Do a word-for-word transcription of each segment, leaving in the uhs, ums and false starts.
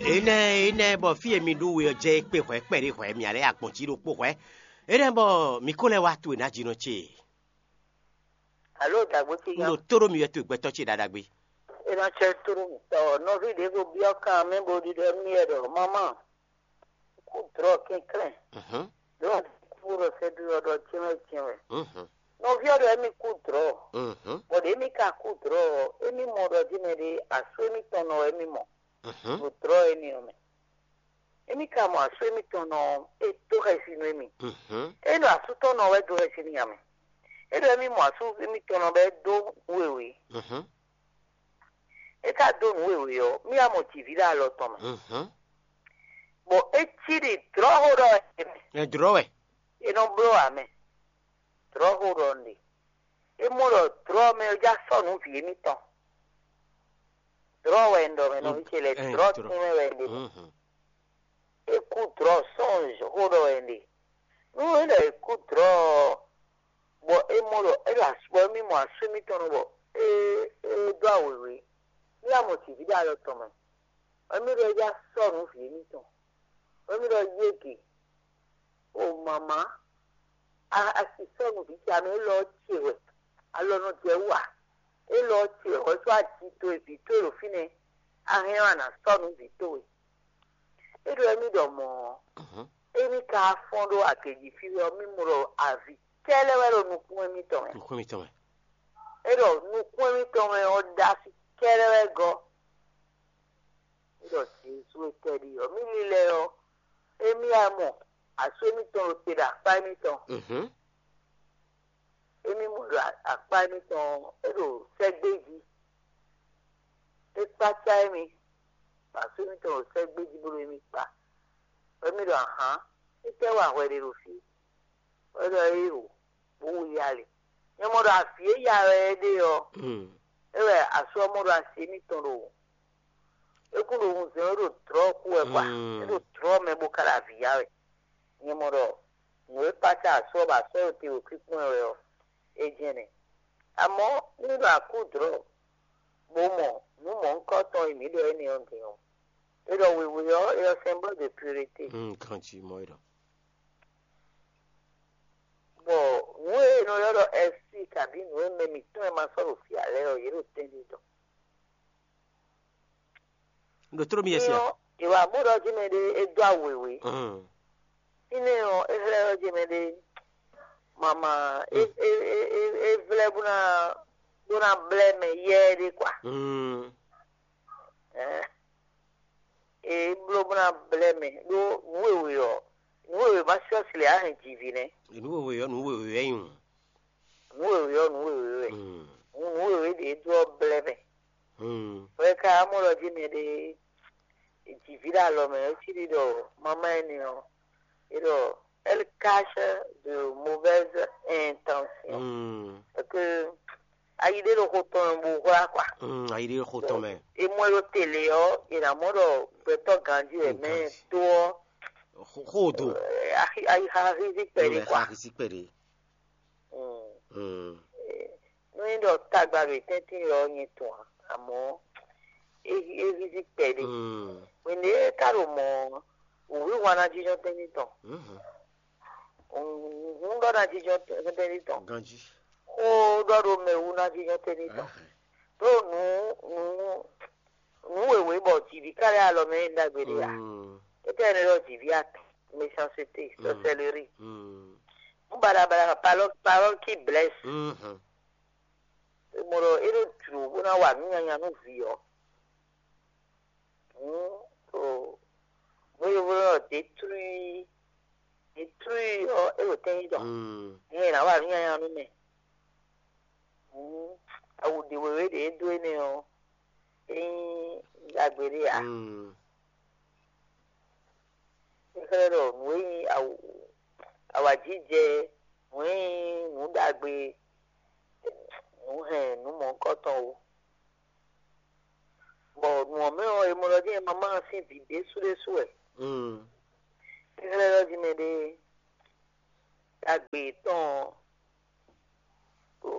Énɛ́ énɛ́ bɔ fí e mi ɖu we ɔ́ jɛ é kpé hwɛ̌ kpɛɖé hwɛ̌, mǐ lɛ́ agbɔ̌n jí ɖokpó hwɛ̌. Énɛ́ bɔ mǐ ko lɛ́ wá to e ná jínɔ ce. Alo dàgbò ce Un ɖo tó ɖó mi wɛ to e gbɛtɔ́ ce ɖaɖagbe. É ná cɛ tlú nɔví ɖě ko byɔ́ kan mɛ bó ɖiɖɔ nú yɛ ɖɔ: "Mamá, kú drɔ̌ kɛnklɛ́n, Mhm. drɔ̌ kú ɖɔ sɛ́dó ɔ́ ɖɔ jɛ́nwɛ jɛ́nwɛ." Mhm. Nɔví ɔ́ ɖɔ émí kú drɔ̌, Mhm. bɔ ɖě émí ka kú drɔ̌ ɔ́, émí mɔ ɖɔ jí mɛ ɖé asú émítɔn nɔ wɛ émí mɔ Mhm. ɖo drɔ̌ énɛ́ ɔ́ mɛ. Émí ka mɔ asú émítɔn nɔ ɔ́, é dó xɛsi nú émí. Mhm. É ɖo asú tɔn nɔ wɛ dó xɛsi n'i ǎ mɛ. É ɖɔ émí mɔ asú émítɔn nɔ bɔ é dó nǔ wěwé. Mhm. É ka dó nǔ wěwé ɔ́, mí wá mɔ jǐví ɖo alɔ tɔn mɛ. Mhm. Bɔ é cí ɖi dlɔ̌xó ɖɔ wɛ é mɛ. Ɛ dlɔ̌ wɛ. É nɔ bló ǎ mɛ. Dlɔ̌xó ɖɔ un ɖe. É mɔ ɖɔ dlɔ̌ mɛ ɔ́ já sɔ́ nǔ vǐ émítɔn. Dlɔ̌ wɛ un ɖɔ mɛ nɔví ce lɛ́ɛ, Ɛ, dlɔ̌ dlɔ̌. Tínmɛ wɛ un ɖe mɛ. Mhm. É kú dlɔ̌ sɔ́ xó ɖɔ wɛ un ɖe. Nú é ɖɔ é kú dlɔ̌ ɔ́, bɔ é mɔ ɖɔ é ɖo asú bɔ émí mɔ asú émítɔn nɔ bɔ é é dó awěwé, mí wá mɔ jǐví ɖo alɔ tɔn mɛ. Bɔ émí ɖɔ é já sɔ́ nǔ vǐ émítɔn. Bɔ émí ɖɔ yége, o mama, a a si sɔ́ nǔ vǐ ce amɛ élɔ́ ce wɛ, alɔ nɔ jɛ wú a? Élɔ́ ce wɛ, hwɛ̌ sɔ́ aji towe vǐ towe ɖo fínɛ́, a hɛn ɔ́ a nǎ sɔ́ nǔ vǐ towe. É ɖɔ émí ɖɔ mɔ̌ ɔ́, Mhm. émí ka fɔ́n ɖó agě jí fí wɛ ɔ́, mí mɔ ɖɔ avǐ kɛ́lɛ́ wɛ ɖo nukún émítɔn mɛ. Nukún mitɔn mɛ. É ɖɔ nukún émítɔn mɛ ɔ́ ɖó asi kɛ́lɛ́ wɛ gɔ́. É ɖɔ Jezu e tɛ́ ɖi ɔ́, mí lílɛ́ ɔ́, émí wá mɔ asú émítɔn ɖo te ɖo akpá émítɔn. Mhm. Émí mɔ ɖo akpá émítɔn ɔ́, é ɖo sɛ́gbé jí. É kpácá émí, bɔ asú émítɔn ɖo sɛ́gbé jí bó ɖo émí kpá. Bɔ émí ɖɔ ahǎn, étɛ́ wa hwɛ ɖe ɖo fí? Bɔ é ɖɔ éeǒ, bó wu ya lě. Nyɛ mɔ ɖɔ avǐ e ya wɛ é ɖe ɔ́, Mm. é wɛ asú ɔ́ mɔ ɖo asi émítɔn ɖo wǔ. É kún ɖo wunzɛn wɛ ɖo dlɔ̌ kú wɛ kwa. Mm. É ɖo dlɔ̌ mɛ bó ka ɖo avǐ ya wɛ. Nyɛ mɔ ɖɔ nǔ e kpácá asú ɔ́ bɔ asú ɔ́ ɖo te ɖo kpínkpɔ́n ɛ wɛ ɔ́, é jɛ́n nɛ́. Amɔ̌, nú ɖɔ akú dlɔ̌, bó mɔ nǔ mɔ̌hunkɔtɔn e mǐ ɖɔ énɛ́ ɔ́ din ɔ́, é ɖɔ wěwé ɔ́, é ɔ́ symbole de purité. Mm, ganjí mɔ é ɖɔ. Bɔ nǔ e è nɔ ylɔ́ ɖɔ ɛ́sí kabǐ nǔ e mɛ mǐtɔn e ma sɔ́ ɖo fí ǎ lɛ́ɛ ɔ́, yě ɖo tɛ́nɖé dɔn. Un ɖo tló mi yɛ sia. Nyɔ, è wa mɔ ɖɔ jí mɛ ɖé é dó awu wěwé. Mm. Fínɛ́ ɔ́, é xlɛ́ ɖɔ jí mɛ ɖé mama é Mm. é é é é vlɛ́ bó ná bó ná blɛ́ mɛ yɛ́ ɖé kwa. Mm. Ɛɛ, é bló bó ná blɛ́ mɛ ɖó nǔ wěwé ɔ́, nǔ wěwé ma sɔ́ si lě á hɛn jǐví nɛ́. Nǔ wěwé ɔ́, nǔ wěwé wɛ nyí o. Nǔ wěwé ɔ́, nǔ wěwé wɛ. Mm. Nǔ nǔ wěwé ɖě dó ɔ́ blɛ́ mɛ. Mm. Hwɛ ka amɔ́ ɖɔ jí mɛ ɖé jǐví ɖo alɔ mɛ, é cí ɖi ɖɔ mamá énɛ́ ɔ́, é ɖɔ elle cache de mauvaises intentions. Mm. Parce que ayi ɖé ɖo xo tɔn mɛ bó hwlá kwa. Mm, ayi ɖé ɖo xo tɔn mɛ. É mɔ ɛ ɖo tele ɔ́, è nǎ mɔ ɖɔ gbɛtɔ́ ganjí wɛ Mm, mɛ ganjí. Tó ɔ́, Xo xo do. Ayi ayi xa hízí kpɛɖé Ɛ kwa. Xa hízí kpɛɖé. Mm. Mm. Nú é ɖɔ tagba ɖo tɛ́ntin ɔ́ nyɛ tɔn ǎ, amɔ̌ é é hízí kpɛɖé. Mm. Hwenu e é ka ɖo mɔ̌ ɔ́, wǔhwíhwan ná jínjɔ́n tɛ́ntin tɔn. Mhm. Hǔn ɖɔ ná jínjɔ́n tɛ́ntin tɔn. Ganjí. Xó ɖɔ ɖo mɛ wú ná jínjɔ́n tɛ́ntin tɔn. Ahɛn. Ɖó nǔ nǔ nǔ wěwé bɔ jǐví ká lɛ́ alɔ mɛ é ɖagbe ɖé ǎ. Mm. Étɛ́ ɛnɛ ɖɔ jǐví atɔn, méchanceté, Mm. Sorcellerie. Mm. Nú baɖabaɖa parole parole qui blesse. Mhm. Mɔ ɖɔ é ɖo jlǒ bó ná wa nǔ nyanya nú vǐ ɔ́. Hǔn ɖo nǔ e yovó ɖɔ détruit détruit ɔ́, é ɖo tɛ́ntin tɔn. Mm. Nyɛ ná wa nǔ nyanya nú mɛ. Hǔn awu ɖě wěwé ɖě é dó énɛ́ ɔ́, é nyí ɖagbe ɖé ǎ. Mm. É xlɛ́ ɖɔ nǔ e nyí awu awǎjijɛ, nǔ e nyí nǔ ɖagbe, nǔ hɛn nǔ mɔ̌hunkɔtɔn ó. Bɔ nǔ ɔ́ mɛ ɔ́, è mɔ ɖɔ jɛ́n mamá ɔ́ sín vǐ ɖésú ɖésú wɛ. Mm. É xlɛ́ ɖɔ jí mɛ ɖé ɖagbe yětɔn ɔ́, ɖo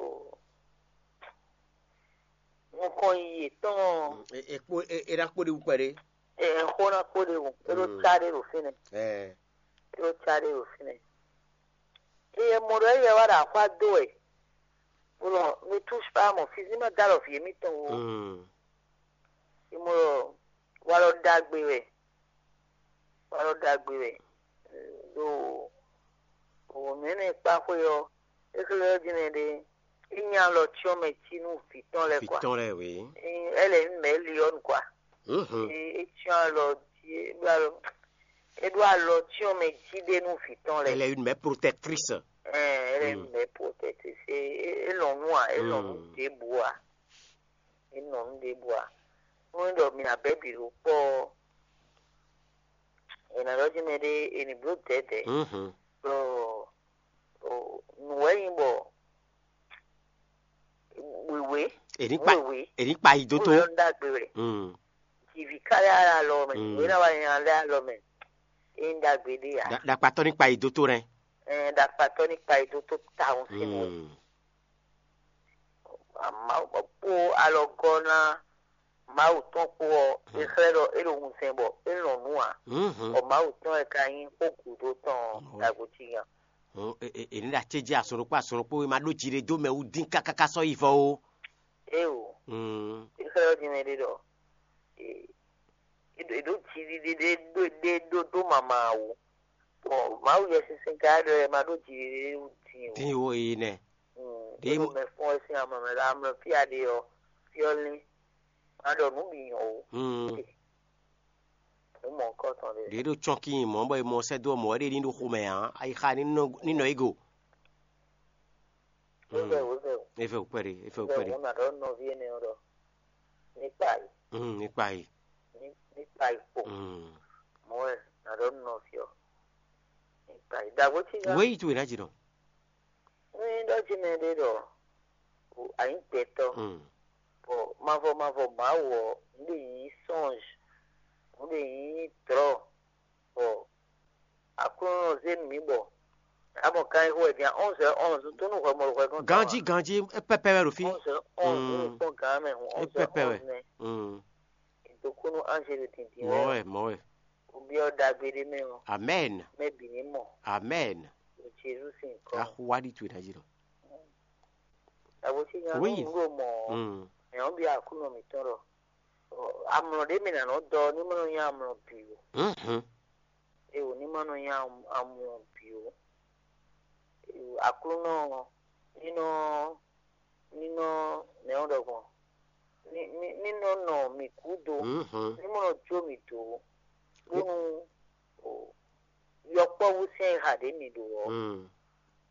nukɔn yi yětɔn ɔ́. Mm, e e kpo e e ɖa kpo ɖi wú kpɛɖé. Ɛ xó ná kpó ɖe wò, é ɖó cá ɖé ɖo fínɛ́, é ɖó cá ɖé ɖo fínɛ́. Eye mɔ ɖɔ éyɛ wá ɖo axwá dó wɛ, bó nɔ ne touche pas à mon fils, ní ma dó alɔ vǐ émítɔn wú. Ě mɔ ɖɔ walɔ ɖagbe wɛ, walɔ ɖagbe wɛ ɖo wǒ nɛ́nɛ kpá xwé ɔ́, é xlɛ́ ɔ́ din mɛ ɖé, é nya alɔ cyɔ́n mɛ cí nú vǐ tɔn lɛ́ɛ vǐ kwa. Tɔn lɛ́ɛ wě. Ɛ lɛ nyí mɛ̌ li ɔ́ nu kwa. Mhm. É cyɔ́n alɔ jí é ɖó alɔ é ɖó alɔ cyɔ́n mɛ jí ɖé nú vǐ tɔn lɛ́ɛ. Elle est une mère protectrice. Ɛ lɛ nyí mɛ̌ protectrice, é lɔn nú a é lɔn nú ɖěbǔ a é lɔn nú ɖěbǔ a nú é ɖɔ mi abɛ̌ bǐ ɖo kpɔ́ ɔ́, è nǎ ɖɔ jí mɛ ɖé è nǐ bló dɛ̌dɛ̌. Mhm. Ɖɔ nǔ wɛ nyí bɔ wěwé Èní kpa wěwé èní kpa yi dó tó. Wúlò ɔ́ ɖagbe wɛ. Mm. Jìvǐ ká lɛ́ alɔ mɛ, wěwé ná wá nyanya lɛ́ alɔ mɛ. É nyí ɖagbe ɖé ǎ. Ɖa- Ɖakpatɔ́ ní kpa yi dó tó nɛ́. Ɛn ɖakpatɔ́ ní kpa yi dó tó tawun sín wɛ. Mm. Mawu kpó alɔgɔ́ ná Mawu tɔn kpó ɔ́, é xlɛ́ ɖɔ é ɖo wunsɛn bɔ é lɔn nǔ ǎ. Mhm. Bɔ Mawu tɔn wɛ ka nyí xó gǔdo tɔn ɔ́, ɖagbo cí gán. Hɔn, e- e- e ní ɖo acéjí azɔn ɖokpó azɔn ɖokpó e ma ɖó jiɖe dó mɛ wú dín káká sɔ́ yi vɔ ó. Éeǒ, Mm. é xlɛ́ ɔ́ din mɛ ɖé ɖɔ é- é ɖó- é ɖó jiɖiɖe ɖé ɖó ɖé ɖó dó mama wú. Bɔ Mawu Yɛsinsɛn ka ɖɔ é ma ɖó jiɖiɖe wú din o. Dín wo yi nɛ. Mm, Ɖě é ɖo mɔ- mɛ fɔ́n wɛ sín amlɔ mɛ ɖo amlɔ fí a ɖe ɔ́, fí ɔ́ lín. Ma ɖɔ nǔ bǐ nyɔ o. Mm. Nǔ mɔ̌hunkɔtɔn ɖé. Ɖě ɖo cɔ́nkí nyi mɔ̌ bɔ è mɔ sɛ́ dó ɔ́, mɔ̌ wɛ ɖe ní ɖo xomɛ ǎ. Ayixa ní nɔ ní nɔ yi go. Wozɛ wozɛ o. É fɛ wǔ kpɛɖé, é fɛ wǔ Wozɛ kpɛɖé. Wǔ na ɖɔ nɔví énɛ́ ɔ́ ɖɔ ní kpa yi, Mm, ní kpa yi. Ní ní kpa yi kpo. Mm. Mɔ̌ wɛ na ɖɔ nɔví ɔ́ ní kpa yi. Ɖagbo cí gán. Wéyi towe ná jǐ nɔ. Ní ɖɔ jí mɛ ɖé ɖɔ o anyǐ gbɛtɔ́. Mm. Bɔ mavɔ mavɔ Mawu ɔ́, nǔ ɖe nyí sɔ́nj, nǔ ɖe nyí drɔ̌, bɔ Aklúnɔ zé nǔ mì bɔ a mɔ kan e xo wɛ din onze heures onze, nú tó nú hwɛ mɔ ɖo hwɛ gɔ́n. Ganjí ganjí é pɛpɛ wɛ ɖo fí. Onze heures onze, nú kpɔ́n gǎn mɛ hǔn É onze heures pɛpɛ wɛ. Onze nɛ. Mm. Dokúnú Anzelu dǐndín Mɔ̌ wɛ wɛ, mɔ̌ wɛ. Obyɔ́ ɖagbe ɖé mɛ ɔ́, Amen. Mɛ bǐ ní mɔ Amen. Ɖo Jezu sín nyǐkɔ. Axwá ɖi towe ná jí nɔ. Àbòsí nya Oui. Nú ɖo mɔ Mm. Mɛ ɔ́ byɔ́ Aklúnɔ mǐtɔn ɖɔ amlɔ ɖé mɛ nǎ nɔ dɔ ní ma nɔ nyí amlɔ bǐ ó. Mhm. É wǒ ní ma nɔ nyí amlɔ bǐ ó. Aklúnɔ ní nɔ ní nɔ nɛ̌ ɔ́ ɖɔ gbɔn ní ní ní nɔ nɔ mǐ gúdo Mhm. ní mɔ nɔ jó mǐ dó bónú o yɔkpɔ́vú sín ayixa ɖě mǐ ɖo ɔ́ Mm.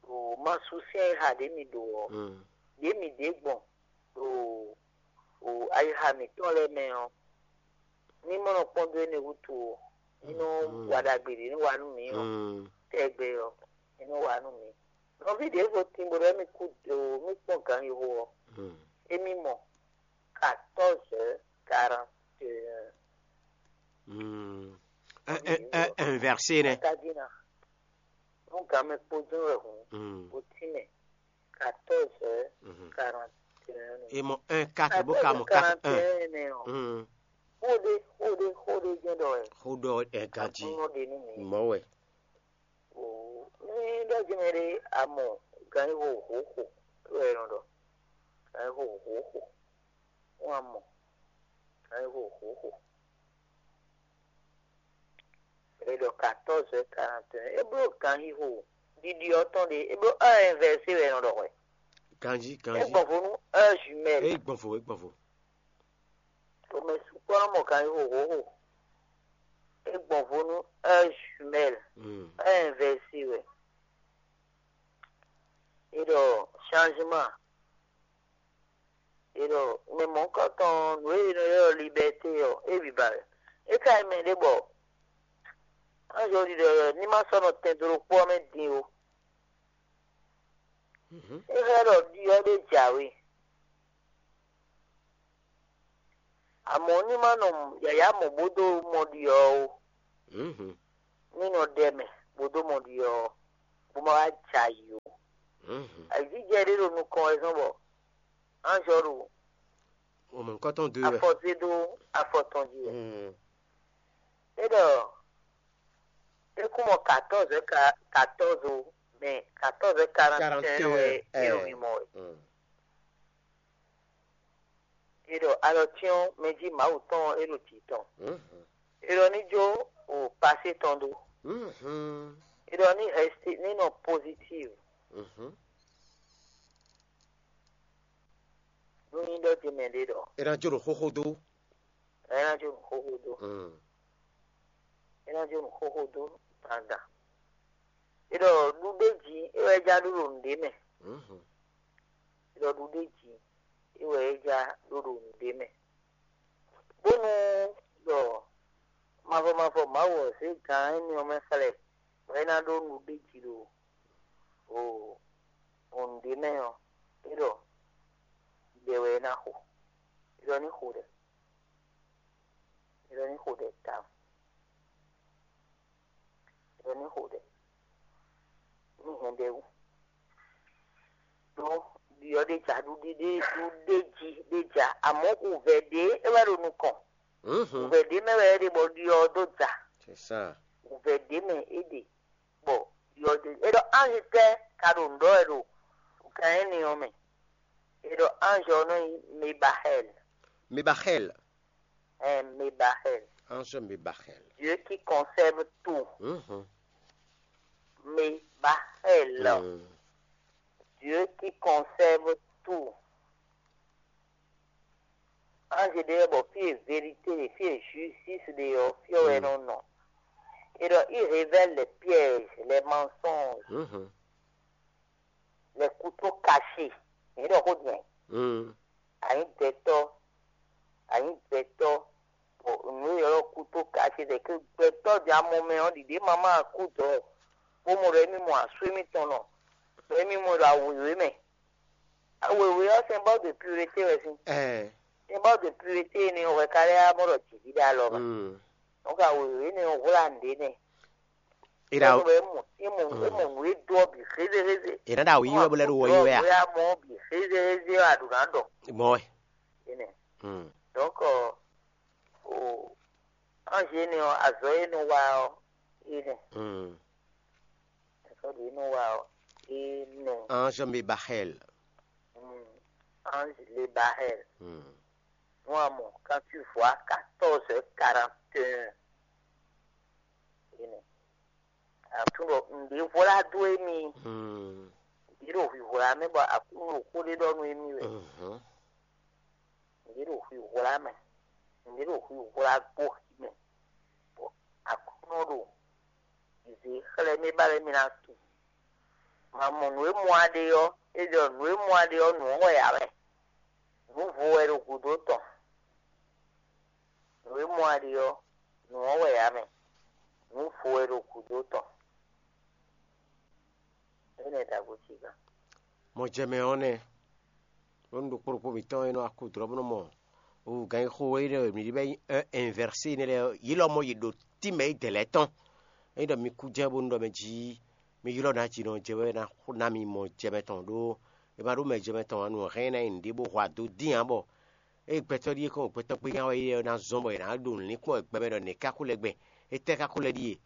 O masu sín ayixa ɖě mǐ ɖo ɔ́ Mm. Ɖě mǐ ɖě gbɔn ɖo o ayixa mǐtɔn lɛ́ɛ mɛ ɔ́ ní mɔ nɔ kpɔ́n dó énɛ́ wútu o ní nɔ Mhm. Wa ɖagbe ɖě ní wa nú mǐ ɔ́ Mm. Tɛgbɛ ɔ́ ní nɔ wa nú mǐ. Nɔví ɖěvo tín bó ɖɔ émí kú do mí kpɔ́n gǎn yi xo ɔ́, émí mɔ quatorze heures quarante et un. Inversé nɛ. Tají ná. Nú gǎn mɛ kpó jɛ́n wɛ hǔn, bó tínmɛ quatorze heures quarante et un. E mɔ un quatre bó ka mɔ quatre un. Xó ɖé xó ɖé xó ɖé jɛ́n ɖɔ wɛ. Xó ɖɔ ɛ ganjí. Aklúnɔ ɖe nú mǐ. Mɔ̌ wɛ. Ní ɖɔ jí mɛ ɖé a mɔ gan yi xo hǒxo, é wɛ è nɔ ɖɔ. Gan yi xo hǒxo, wọ́n a mɔ gan yi xo hǒxo. È ɖɔ quatorze heures quarante et un, é bló ganxixo ɖiɖi ɔ́ tɔn ɖe, é bló heure inversée wɛ è nɔ ɖɔ hwɛ. Ganjí, é ganjí. Gbɔn vo nú heure jumelle. É gbɔn vo, é gbɔn vo. Xomɛ sukpɔ́ nɔ mɔ ganxixo hǒxo. É gbɔn vo nú heure jumelle. Mm. Heure inversée wɛ. É ɖɔ changement. É ɖɔ mɛ mɔ̌hunkɔtɔn nǔ e è nɔ ylɔ́ liberté ɔ́, é bǐ ba wɛ. É ka nyí mɛ ɖé bɔ anjɔ ɖiɖɔ ní ma sɔ́ nɔ tɛn dó ɖokpó ɔ́ mɛ din ó. Mhm. É xlɛ́ ɖɔ ɖi ɔ́ ɖé jǎwe. Amɔ̌ ní ma nɔ yǎyá mɔ bó dó mɔ ɖi ɔ́ ó. Mhm. Ní nɔ ɖɛ mɛ bó dó mɔ ɖi ɔ́, bó ma wá jɛ ayǐ ó. Mhm. Ayǐjijɛ ɖé ɖo nukɔn wɛ zɔ́n bɔ anjɔ ɖo Ọmọ nǹkan tán dó wẹ̀. Afɔ zé ɖó afɔ tɔn jí wɛ. Mm. Ɔ, é kún mɔ quatorze ka quatorze o, mais quatorze quarante et un wɛ é ɖo wimɔ wɛ. É ɖɔ alɔ cyɔ́n mɛ jí Mawu tɔn ɔ́, é ɖo jǐ tɔn. É ɖɔ ní jó o pasé tɔn ɖó. É ɖɔ ní reste ní nɔ positive. Nú nyí ɖɔ jí mɛ ɖé ɖɔ É ná jó ɖo xóxó dó. É ná jó nǔ xóxó dó. É ná jó nǔ xóxó dó dandan. É ɖɔ ɖuɖéji é wɛ é já ɖó ɖo nǔɖé mɛ. É ɖɔ ɖuɖéji é wɛ é já ɖó ɖo nǔɖé mɛ. Bónú ɖɔ mavɔ mavɔ Mawu ɔ́ zé gǎn énɛ́ ɔ́ mɛ xlɛ́, bɔ é ná ɖó nǔɖéji ɖo o o nǔɖé mɛ ɔ́, é ɖɔ ɖɛ wɛ é ná xo. É ɖɔ ní xo ɖɛ. É ɖɔ ní xo ɖɛ tawun. É ɖɔ ní xo ɖɛ. Ní hɛn ɖɛ wú. Ɖó ɖiɔ ɖé ja ɖuɖi ɖé ɖuɖé ji ɖé ja, amɔ̌ wǔvɛ́ ɖé é wɛ ɖo nukɔn. Wǔvɛ́ ɖé mɛ wɛ é ɖe bɔ ɖiɔ ɔ́ dó ja. C'est ça. Wǔvɛ́ ɖé mɛ é ɖe bɔ ɖiɔ dó. É ɖɔ ange tɛ́ ka ɖo nǔ ɖɔ wɛ ɖo gan énɛ́ ɔ́ mɛ? É ɖɔ ange ɔ́ nɔ nyí Mebahɛl. Mebahɛl. Ɛn, Mebahɛl. Ange Mebahɛl. Dieu qui conserve tout. Mhm. Mebahɛl. Mm. Dieu qui conserve tout. Ange ɖé bɔ fí e vérité ɖe, fí e justice ɖe ɔ́, fí ɔ́ wɛ nɔ nɔ. Et donc, il révèle les pièges, les mensonges, les couteaux cachés. Yě ɖɔ xó din. Anyǐ gbɛtɔ́, anyǐ gbɛtɔ́, bɔ nǔ e ylɔ́ couteau caché, c'est que gbɛtɔ́ ɖi amɔ mɛ ɔ́, ɖiɖě ma ma kú dɔ̌, bó mɔ ɖɔ émí mɔ asú émítɔn nɔ, bɔ émí mɔ ɖɔ awěwé mɛ. Awěwé ɔ́, symbole de pureté wɛ sín. Ɛɛ. Symbole de pureté énɛ́ ɔ́ hwɛ ka lɛ́ wá mɔ ɖɔ jǐví ɖo alɔ ba. Mm. Donc awěwé énɛ́ ɔ́ hwlá nǔɖé nɛ́. Ira. Bɔ é mɔ é mɔ é mɔ nǔ e dó ɔ́ bǐ xézéxézé. Ira ɖo awu yí wɛ bó lɛ́ ɖo wɔ yí wɛ a? Bóyá mɔ bǐ xézéxézé ɔ́, aɖǔ ná ɖɔ. Mɔ wɛ. Énɛ́. Mm. Donc ɔ, o ange énɛ́ ɔ́, azɔ̌ e nɔ wa ɔ́, énɛ́. Mm. Azɔ̌ ɖě nɔ wa ɔ́, énɛ́. Ange Mebahel. Mm. Ange Lebahel. Mm. Nú a mɔ, quand tu vois quatorze heures quarante et un, énɛ́. Aklúnɔ, nǔɖé hwlá dó émí. Mm. Nǔɖé ɖo hwǐhwlá mɛ bɔ Aklúnɔ ɖo xó ɖé ɖɔ nú émí wɛ. Mhm. Nǔɖé ɖo hwǐhwlá mɛ. Nǔɖé ɖo hwǐhwlá gbó xi mɛ. Bɔ Aklúnɔ ɖo zě xlɛ́ mì ba lɛ́ mì ná tunwun. Ma mɔ nǔ e mɔ a ɖe ɔ́, é ɖɔ nǔ e mɔ a ɖe ɔ́, nǔ ɔ́ wɛ ǎ wɛ. Nǔ vo wɛ ɖo gǔdo tɔn. Nǔ e mɔ a ɖe ɔ́, nǔ ɔ́ wɛ ǎ mɛ. Nǔ vo wɛ ɖo gǔdo tɔn. Énɛ́ ɖagbo ce gán. Mɔjɛmɛ ɔ́ nɛ́. Bónú ɖokpó ɖokpó mǐtɔn e nɔ wá kú dlɔ́ bó nɔ mɔ wǔgán e xo énɛ́ e mǐ ɖi bɔ é nyí un inversé énɛ́ lɛ́ɛ ɔ́, yě lɔmɔ̌ yě ɖo tínmɛ é dɛ̌ lɛ́ɛ tɔn. Ényí ɖɔ mi kú jɛ bónú ɖɔ mɛ jí mi ylɔ́ nǎjínɔ jɛ wɛ ná xo ná mi mɔjɛmɛ tɔn ɖó è ma ɖó mɛjɛmɛ tɔn ǎ, nǔ hɛn ná nyi nǔɖé bó hwa dó dín ǎ bɔ ée gbɛtɔ́ ɖíe kɔn gbɛtɔ́ gbé nya wɛ é ná zɔ́n bɔ è nǎ ɖo nǔ linkpɔ́n wɛ gbɛ mɛ ɖɔ nɛ̌ ká xó lɛ́ gbɛn, étɛ́ ká xó lɛ́ ɖíe?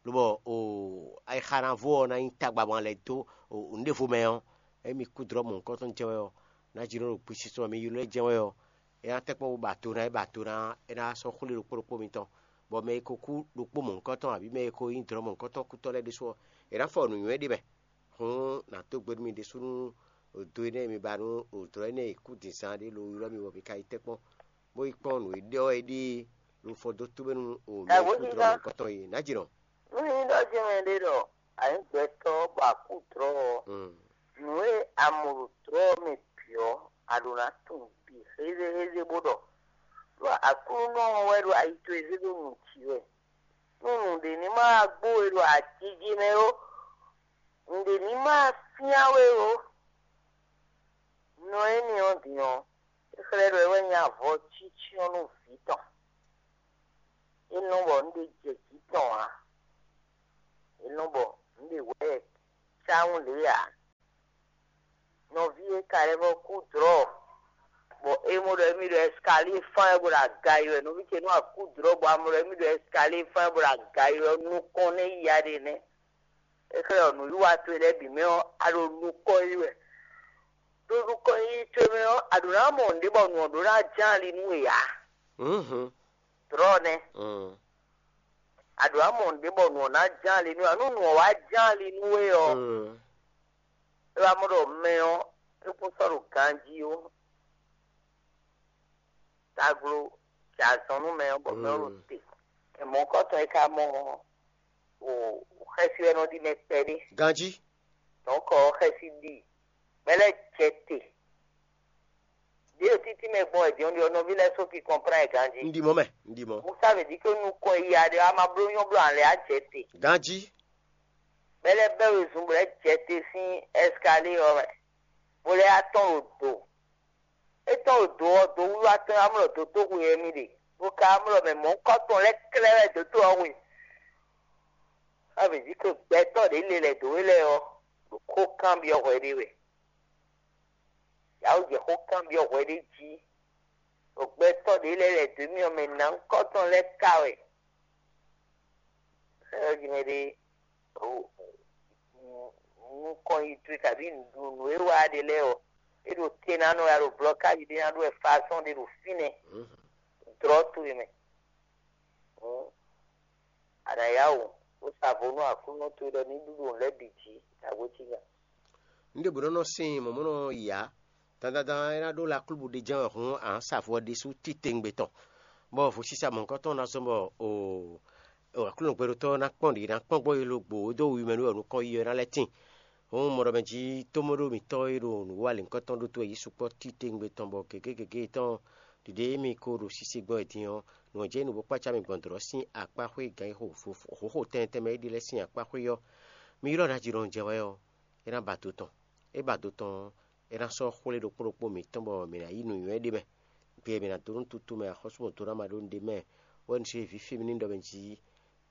Lobɔ o ayixa ná vo ɔ́ ná nyí tagba mɔ lɛ́ dó nǔɖévo mɛ ɔ́, ényí mi kú dlɔ́ mɔ̌hunkɔtɔn jɛ́n wɛ ɔ́, nǎjínɔ ɖo gbesisɔ mɛ mi ylɔ́ ɛ jɛ́n wɛ ɔ́, é ná tɛ́ kpɔ́n bó ba do ná é ba do ná é ná sɔ́ xwlé ɖokpó ɖokpó mitɔn, bɔ mɛ e ko kú ɖokpó mɔ̌hunkɔtɔn abǐ mɛ e ko nyí dlɔ̌ mɔ̌hunkɔtɔn kútɔ́ lɛ́ɛ ɖésú ɔ́, è nǎ fɔ nǔnywɛ́ ɖé mɛ. Hǔn nǎ dó gbe nú mi ɖésú nú do énɛ́ e mi ba nú dlɔ̌ énɛ́ e kú din zán ɖé lo ylɔ́ mi bɔ mi ka yi tɛ́ kpɔ́n, bó yi kpɔ́n nǔ e ɖɔ é ɖíe lo fɔ dó tóbɛ́ nú mɛ e kú dlɔ̌ mɔ̌hunkɔtɔn é. Nǎjínɔ. Nú nyí ɖɔ jɛ́n mɛ ɖé ɖɔ anyǐgbɛtɔ́ bɔ akú dlɔ̌ ɔ́, nǔ e a mɔ ɖo dlɔ̌ ɔ́ mɛ bǐ ɔ́, a ɖǒ ná tunwun bǐ xézéxézé bó ɖɔ, ɖó Aklúnɔ ɔ́ wɛ ɖo ayi towe zé dó nu jǐ wɛ. Nú nǔɖé ní ma wá gbó we ɖo ajiji mɛ ó, nǔɖé ní ma wá fyán we ó, nɔ énɛ́ ɔ́ din ɔ́, é xlɛ́ ɖɔ é wɛ nyí avɔ cícyɔ́n nú vǐ tɔn. É nɔ bɔ nǔɖé jɛ jǐ tɔn ǎ. É nɔ bɔ nǔɖé hwɛ cáwún lě ǎ. Nɔví e ka lɛ́ vɔ́ kú dlɔ̌, Bɔ é mɔ ɖɔ émí ɖo ɛskalie fán wɛ bó ɖo aga yi wɛ, nɔví ce nú akú dlɔ̌ bɔ a mɔ ɖɔ émí ɖo ɛskalie fán wɛ bó ɖo aga yi wɛ, nukɔn nɛ́ ya ɖe nɛ́. É xlɛ́ ɔ nǔwiwa towe lɛ́ɛ bǐ mɛ ɔ́, a ɖo nukɔn yi wɛ. Ɖo nukɔn yi towe mɛ ɔ́, a ɖǒ ná mɔ nǔɖé bɔ nǔ ɔ́ ɖó ná ján ali nú we ǎ. Dlɔ̌ nɛ́. A ɖǒ ná mɔ nǔɖé bɔ nǔ ɔ́ ná ján ali nú we ǎ. Nú nǔ ɔ́ wá ján ali nú we ɔ́, é wá mɔ ɖɔ mɛ ɔ́, é kún sɔ́ ɖo ganjí ó. Taglo jɛ azɔn nú mɛ ɔ́ bɔ mɛ ɔ́ ɖo te. Mɔ̌kɔtɔn e ka mɔ ɔ́, xɛsi wɛ nɔ ɖi mɛ kpɛɖé. Ganjí. Dɔ̌nkɔ ɔ́ xɛsi ɖi. Mɛ lɛ́ɛ jɛ te. Ɖěe títí mɛ gbɔn wɛ din ɔ́ ɖi ɔ́, nɔví lɛ́ɛ sɔ́ ki kɔnplán ɛ ganjí. Un ɖi mɔ̌ mɛ, un ɖi mɔ̌. Musa vě dí ké nukɔn e ya ɖe ɔ́, a ma bló nyɔ́ bló ǎ lɛ́ɛ á jɛ te. Ganjí. Mɛ lɛ́ɛ bɛ́ wezun bɔ lɛ́ jɛ te sín ɛskalíe ɔ́ mɛ, bó lɛ́ yá tɔ́n ɖo do. É tɔ́n ɖo do ɔ́, do wiwa tɔn wá mlɔ dotóxwe wɛ mì ɖe, bó ka wá mlɔ mɛ mɔ̌hunkɔtɔn lɛ́ɛ klɛ́ wɛ dǒtó ɔ́ hwe. Ɔ́, mǐ jí ko gbɛtɔ́ ɖě lelɛ dǒ we lɛ́ɛ ɔ́, ɖo xó kanbyɔ́ hwɛ ɖé wɛ. Yǎ wú jɛ xó kanbyɔ́ hwɛ ɖé jí, ɖo gbɛtɔ́ ɖě lɛ́ɛ lɛ̌ dó mì ɔ́ mɛ nǎnkɔ́tɔn lɛ́ɛ ka wɛ. Xɛ́ ɔ́ jí mɛ ɖé nukɔn yi towe kabǐ nǔɖuɖu nǔ e wa ɖe lɛ́ɛ ɔ́, é ɖo te ná nɔ wɛ a ɖo blɔkáji ɖé ná ɖó wɛ fasɔ́n ɖé ɖo fínɛ́, dlɔ̌ towe mɛ. Hǔn, a nǎ yá wǔ, bó sa vo nú Aklúnɔ towe ɖɔ ní ɖúɖú nǔ lɛ́ɛ bǐ jí, ɖagbe cí nya. Un ɖěbǔ nɔ nɔ sin mɔ̌mɔ́nɔ yǎ, dandandan é ná ɖó laklúbu ɖé jɛ́n wɛ hǔn a nǎ sa vo ɔ́ ɖésú titewungbe tɔn, bɔ vodísa mɔ̌hunkɔtɔn ná zɔ́n bɔ o Aklúnɔ gbɛɖotɔ́ ɔ́ ná kpɔ́n ɖě ná kpɔ́n gbɔn yi logbo dó wi mɛ nú wɛ nukɔn yi ɔ́ ná lɛ́ tíin. Hǔn mɔɖɔmɛ jí tómɔɖó mǐtɔn e ɖo nǔwiwa lǐnkɔtɔn ɖó tó wɛ yí sukpɔ́ titewungbe tɔn bɔ gěgé gěgé tɔn ɖiɖe émí ko ɖo sise gbɔn wɛ din ɔ́, nǔ ɔ́ jɛ nǔ bó kpácá mi gbɔn dlɔ̌ sín akpá xwé gǎn e xo hǒxo tɛntɛn mɛ é ɖe lɛ́ɛ sín akpá xwé ɔ́. Mi ylɔ́ ná jǐ ɖɔn jɛ wɛ ɔ́, é ná ba do tɔn. É ba do tɔn ɔ́, é ná sɔ́ xwlé ɖokpó ɖokpó mǐtɔn bɔ mǐ ná yí nǔnywɛ́ ɖé mɛ. Gbe e mǐ ná dó nú tutu mɛ axɔ́súmɔdónáma ɖó nǔɖé mɛ, wɛ un se vǐ fí mì ní ɖɔ mɛ jí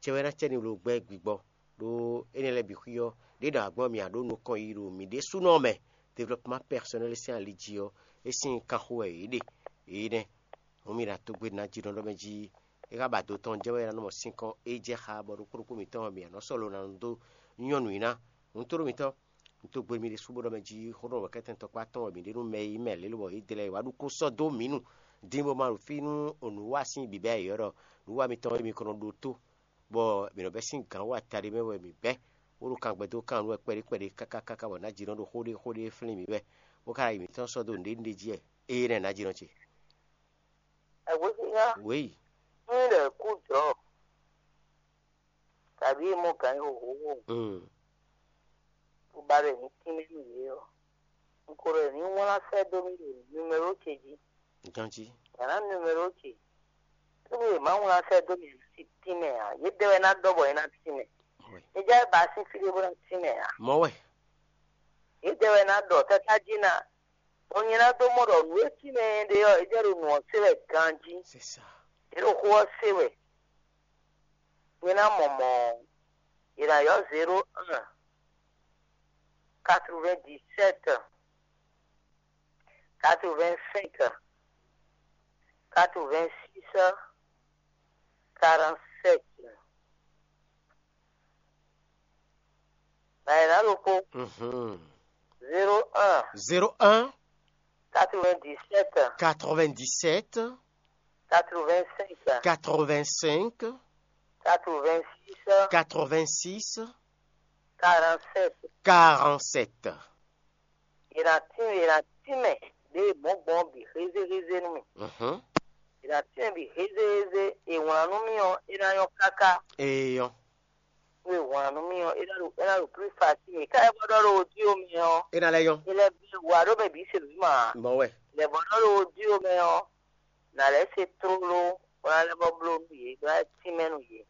cɛ wɛ ná cɛ ní lo gbɛ́ gbigbɔ, ɖó énɛ́ lɛ́ɛ bǐ xwí ɔ́, ɖě ɖɔ agbɔ́n mì a ɖǒ nukɔn yi ɖo mǐ ɖésúnɔ mɛ, développement personnel sín ali jí ɔ́, é sín kanxo wɛ yě ɖe. Yě nɛ́. Hǔn mì ɖo atogbé ná jí nɔ ɖɔ mɛ jí é ká ba do tɔn jɛ wɛ é ná nɔ mɔ sínkɔ́n é jɛ xá bɔ ɖokpó ɖokpó mǐtɔn mì a nɔ sɔ́ lo ná nɔ dó nyɔ́ nǔ i ná. Hǔn tóɖó mǐtɔn, un tó gbe mi ɖésú bó ɖɔ mɛ jí xó ɖɔ wɛ̌kɛ́tɛn tɔkpá tɔn wɛ mǐ ɖe nú mɛ e nyí mɛ lě lobɔ é dlɛ́ wá ɖu kó sɔ́ dó mǐ nu dín bó ma ɖo fí nú nǔwa sín bǐbɛ́ yě ɔ́ ɖɔ nǔwa mitɔn e mi ko nɔ ɖó tó, bɔ mǐ nɔ bɛ́ sín gǎn wa taɖé mɛ wɛ mǐ bɛ́, bó ɖo kan gbɛ dó kan nú wɛ kpɛɖé kpɛɖé káká káká bɔ nǎ jí nɔ ɖo xó ɖé xó ɖé flín mǐ wɛ, bó ka ɖo yi mǐtɔn sɔ́ dó nǔɖé nǔɖé jí wɛ. Ée nɛ́ nǎ jí nɔ ce. Ɛhwesíná, wěyi. Ní lɛ̌ kú jɔ̌, kabǐ e mɔ gǎn nyi xóxó, bó ba ɖɔ è ní tínmɛ nú yě ɔ́, un ko ɖɔ è ní wlán sɛ́ dó mì ɖo numero ce jí. Ganjí. Yě ná numero ce. Tónú è má wlán sɛ́ dó mì sí tínmɛ ǎ. Yědɛɛ wɛ ná ɖɔ bɔ é ná tínmɛ. Wi. É já é ba sín fí ɖé bó ná tínmɛ ǎ. Mɔ̌ wɛ. Yědɛɛ wɛ ná ɖɔ káká jí ná. Bɔ nyɛ ná dó mɔ ɖɔ nǔ e tínmɛ é ɖe ɔ́, é jɛ ɖo nǔ ɔ́ se wɛ ganjí. C'est ça. É ɖo xó ɔ́ se wɛ. Nyɛ ná mɔ mɔ̌. È nǎ ylɔ́ zéro un, quatre-vingt-dix-sept, quatre-vingt-cinq, quatre-vingt-six, quarante-sept. Nǎ è nǎ ɖokpó. Mhm. Zéro un, zéro un, quatre-vingt-dix-sept, quatre-vingt-dix-sept, quatre-vingt-cinq, quatre-vingt-cinq, quatre-vingt-six, quatre-vingt-six, quarante-sept. Quarante-sept. È nǎ tín è nǎ tín mɛ ɖěe mɔ̌ gbɔn ɔ́ bǐ hézéhézé nú mì. Mhm. È nǎ tín mɛ bǐ hézéhézé, è wlǎn nú mì ɔ́, é ná nyɔ́ káká. Eyɔn. Nú è wlǎn nú mì ɔ́, é ná ɖo é ná ɖo plus facile. Ká ɛ bɔ ɖɔ ɖo wodío mɛ ɔ́, é ná lɛ́ nyɔ́. É lɛ́ bí wǎ ɖó mɛ bǐ se nǔ ma. Mɔ̌ wɛ. Lɛ bɔ ɖɔ ɖo wodío mɛ ɔ́, nǎ lɛ́ se tlóló, bó ná lɛ́ bɔ bló nú yě, bó ná lɛ́ tínmɛ nú yě.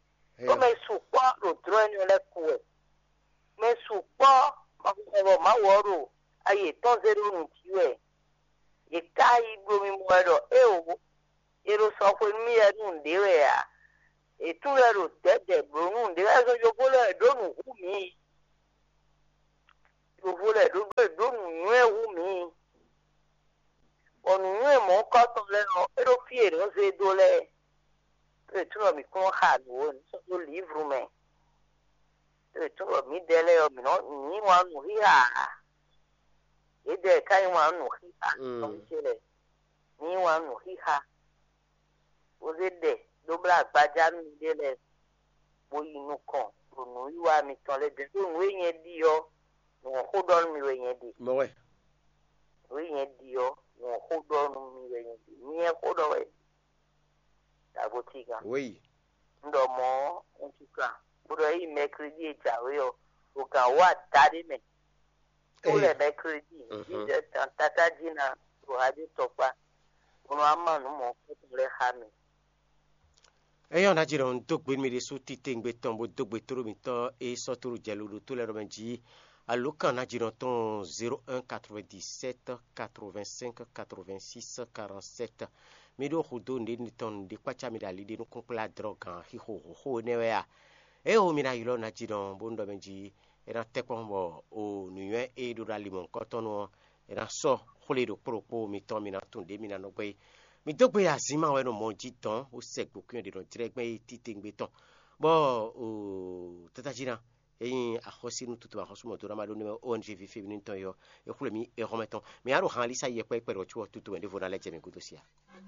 Ɖó mɛ sukpɔ́ ɖo dlɔ́ énɛ́ lɛ́ɛ kú wɛ. Mɛ sukpɔ́ ma xɔ bɔ Mawu ɔ́ ɖo ayi yětɔn zé ɖó nǔ jí wɛ. Yě ká yi ɖo mimɔ wɛ ɖɔ éeǒ, è ɖo sɔ xwe nú mì wɛ nú nǔɖé wɛ ǎ. Yě tunwun wɛ ɖo dɛ̌dɛ̌ bló nú nǔɖé wɛ zɔn yovó lɛ́ɛ ɖó nǔ hú mǐ. Yovó lɛ́ɛ ɖó ɖó ɖó nǔnywɛ́ hú mǐ. Bɔ nǔnywɛ́ mɔ̌hunkɔtɔn lɛ́ɛ ɔ́, é ɖo fí e nǔ zé dó lɛ́ɛ. Tó e túnɔ mǐ kún nɔ xa nǔ ó, nǔ sɔ́ dó lǐvlu mɛ. Tó e túnɔ mǐdɛɛ lɛ́ɛ ɔ́, mǐ nɔ mǐ yí wǎn nǔ xixa ǎ. Yědɛɛ ka yí wǎn nǔ xixa tɔn ce lɛ́ɛ. Mǐ yí wǎn nǔ xixa, bó zé ɖɛ dó blá agbaja nú miɖée lɛ́ɛ, bó yi nukɔn ɖo nǔwiwa mitɔn lɛ́ɛ bǐ. Ɖó nǔ e nyɛ ɖi ɔ́, nǔ ɔ́ xó ɖɔ nú mi wɛ nyɛ ɖe. Mɔ̌ wɛ. Nǔ e nyɛ ɖi ɔ́, nǔ ɔ́ xó ɖɔ nú mi wɛ nyɛ ɖe. Nyɛ xó ɖɔ wɛ. Dǎgotígan. Wéyi. Un ɖɔ mɔ̌, un tunkan, bó ɖɔ ényí mɛklédi e jǎwe ɔ́, ɖo gan wǒ adaɖé mɛ. Tó lɛ mɛklédi, jíjɛ tán tátájí ná ɖo hajé tɔkpá, bó nɔ wá má nǔ mɔ̌ kúkú lɛ́ɛ xá mi. Éyɔ́ ná jɛ ɖɔ un dó gbe nú mi ɖésú titewungbe tɔn, bó dó gbe tóɖó mitɔ́ e sɔ́ tóɖó jɛ loɖo tó lɛ́ɛ ɖɔ mɛ jí. Alǒkan ná jɛ ɖɔ tɔn zéro un quatre-vingt-dix-sept quatre-vingt-cinq quatre-vingt-six quarante-sept. Mi ɖó xudó nǔɖé tɔn nǔɖé kpácá mi ɖo ali ɖé nukúnkplá dlɔ́ gǎn xixo xóxó énɛ́ wɛ a? Éeho mi ná ylɔ́ ná jí ɖɔn bónú ɖɔ mɛ jí é ná tɛ́ kpɔ́n bɔ o nǔnywɛ́ e ɖó ɖo ali mɔ̌hunkɔtɔn nu ɔ́, é ná sɔ́ xwlé ɖokpó ɖokpó mitɔn mi ná tunwun ɖě mi ná nɔ gbé. Mi dó gbe azǐn ma wɛ nɔ mɔ jí dɔn bó sɛ gbǒkúnyɔ ɖě nɔ jlɛ́ gbɛn é titewungbe tɔn, bɔ o tata jí ná é nyí axɔ́sí nú tutu axɔ́sú mɔ̌ dó ná ma ɖó nú O N G ví féminin tɔn é ɔ́, é xwlé mì é hɔn mɛ tɔn. Mǐ á ɖo han Elisa yɛkpɛ́ kpɛɖɔ có ɔ́ tutu mɛ ɖěvo ná lɛ́ jɛ mǐ gúdo sia.